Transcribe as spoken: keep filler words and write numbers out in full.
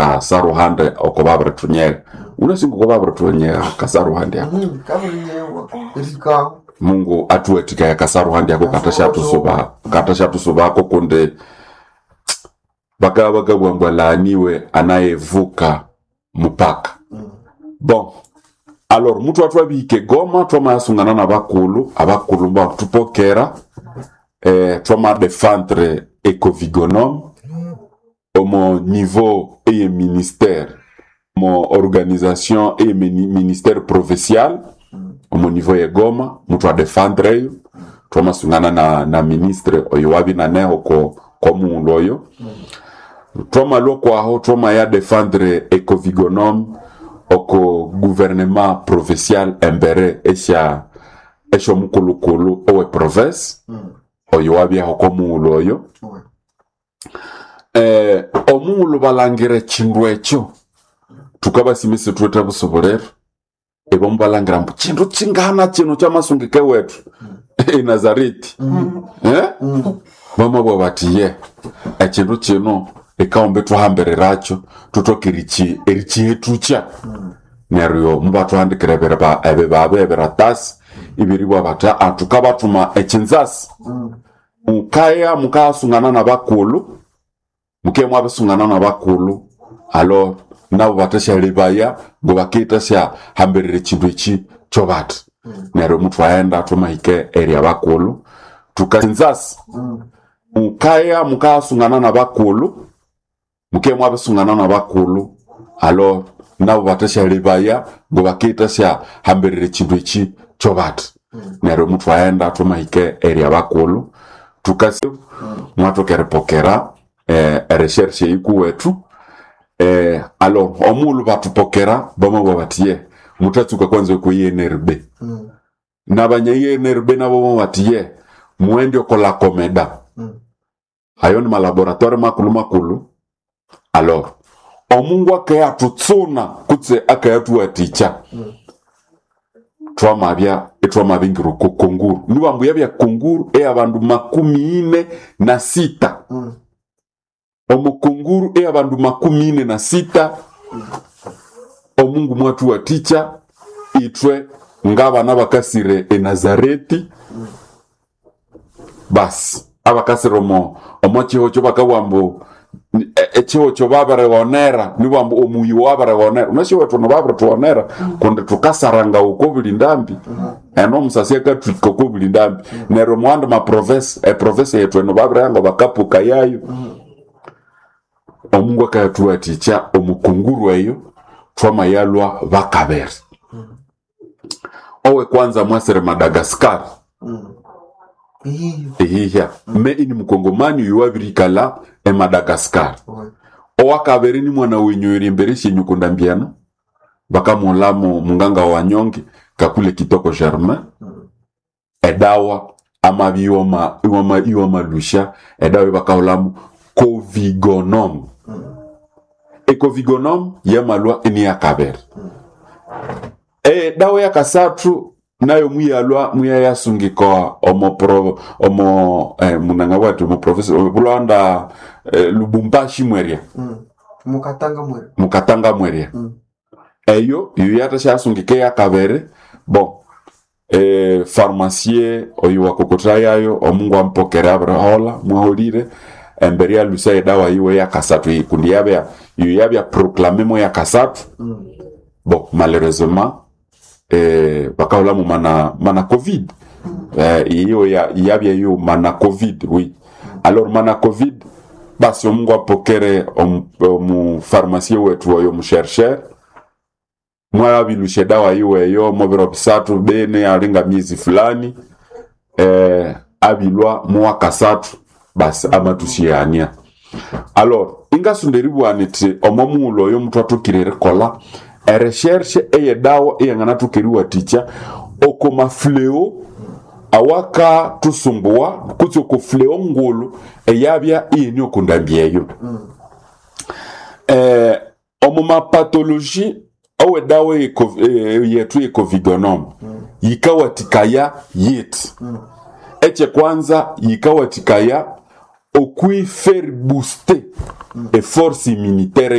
kasaruhande oko babirithunyiga. Unasinga oko babirithunyiga kasaruhande ako. Mm, kabirinyewa erikaho. Mungu atuwathikaya kasaruhande ako katasyathusubako katasyathusubako kundi bakabya bakabugha ambu alaaniwe anayevuka mupaka. Bon, alors muthwa thwabihika egoma thwamayasungana nabakulhu, abakulhu mubathupokera eh, thwamadefendre ecovigonome omo niveau eye ministère, omo organisation eye mini- ministère provincial omo niveau ye Goma muthwadefendre eyo, thwamasungana na, na ministre oyo wabya inaneho ko komughulhu oyo. Thwamalhwa okwaho thwamaya defendre ecovigonome oko gouvernement provincial embere esya esyomukulhukulhu owe province oyo wabyaho komughulhu oyo. Oui. Eh, omughulhu balhangira ekindu ekyo thukabasimisa isithuwithe busubuliro, ibo mubalhangira ambu kindu kingana kino kyamasungika ewethu enazareti eh? Bamabugha bathi ye ekindu kino ekaomba ithwahambirirakyo thuthoke eriki erikihethukya. Neryo mubathuhandikira ebiriba ebibaba ebiratasi ibiribugha bathi aa thukabathuma ekinzasi, mukaya mukayasungana nabakulhu, mukeye mwabisungana nabakulhu alors nabo bathasyalebaya ngobakiyithasyahambirira ekindu eki kyobathi. Neryo muthwaghenda thwamahika eri abakulhu thukanzasi, mukaya mukayasungana nabakulhu, mukeye mwabisungana nabakulhu alors nabo bathasyalebaya ngobakiyithasyahambirira ekindu eki kyobathi. Neryo muthwaghenda thwamahika eri abakulhu thukasi mwathoka eripokera eh, erecherche eyikuwethu. Eh, alors omughulhu bathupokera bamabugha bathi ye muthatsuka kwanza okwa I N R B. Nabanya I N R B nabo bamabugha bathi ye mughende oko Lacomeda. Ayo ni malaboratoire makulhu makulhu. Alors omungu akayathutsuna kutse akayathuwathikya thwamabya ithwamabingira oko konguru nibambu yabya konguru eyabandu makumi ine na sita. Omo konguru eyabandu makumi ine na sita omungu mwathuwathikya ithwe ngabana bakasire enazareti basi abakasire omo omo kihokyo bakabugha ambu e- ekihokyo babirighonera nibambu omuyi wabirighonera unasi ewethu eno babirithubonera kundi thukasaranga oko buli ndambi eno omusasi akathwika oko buli ndambi. Neryo omuwandi maprovince eprovince yethu eno babirihanga bakapuka yayo. Omungu akayathuwathikya omukunguru eyo thwamayalhwa bakabiri. Owe kwanza mwasire Madagascar. Iyo. Ehihya me ini mukongomani oyo wabirikalha e Madagascar. Oui. Owakabiri ni mwana wenyu eri embere syenyu kundambiano bakamughulhamu munganga wa nyonge kakule Kitoko Germain edawa amabya iwama iwama iwamalhusya edawa ebakahulhamu Covigonome. Ecovigonome yamalhwa iniyakabiri. Edawa yakasathu nayo muyalhwa muyayasungika omo pro omo eh, munangabwati omo professor bulhanda eh, Lubumbashi mwerya. Mukatanga mwere. Mukatanga mwerya. Eyo yo yathasyasungika eyakabiri bon eh, pharmacien oyo wakokotha yayo omungu ampokere abiriholha mwaholire embere yalhusa edawa yiwe yakasathu kundi yabya yo yabya proclame mo yakasathu. Bon malheureusement eh, bakahulhamu mana mana covid eh, iyo ya yabya yo mana covid oui. Alors mana covid basi omungu apokere omu, omu pharmacien wethu oyo omuchercheur mwabilusha edawa yiwe eyo mubiro bisathu bene alinga miezi fulani eh, abilwa muwakasathu basi amatusyania. Alors ingasonda eribugha nithi omo mughulhu oyo muthwathokire erikolha erecherche eyedawa eyanganathoka eriwathikya oko mafleo awakathusumbuwa kutse oko fleo ngulhu eyabya iyine oko ndambi eyo. Eh, omu mapathology owedawa yethu yecovigonome yikawathikaya yithi ekyekwanza yikawathikaya okwi faire booster eforce immunitaire.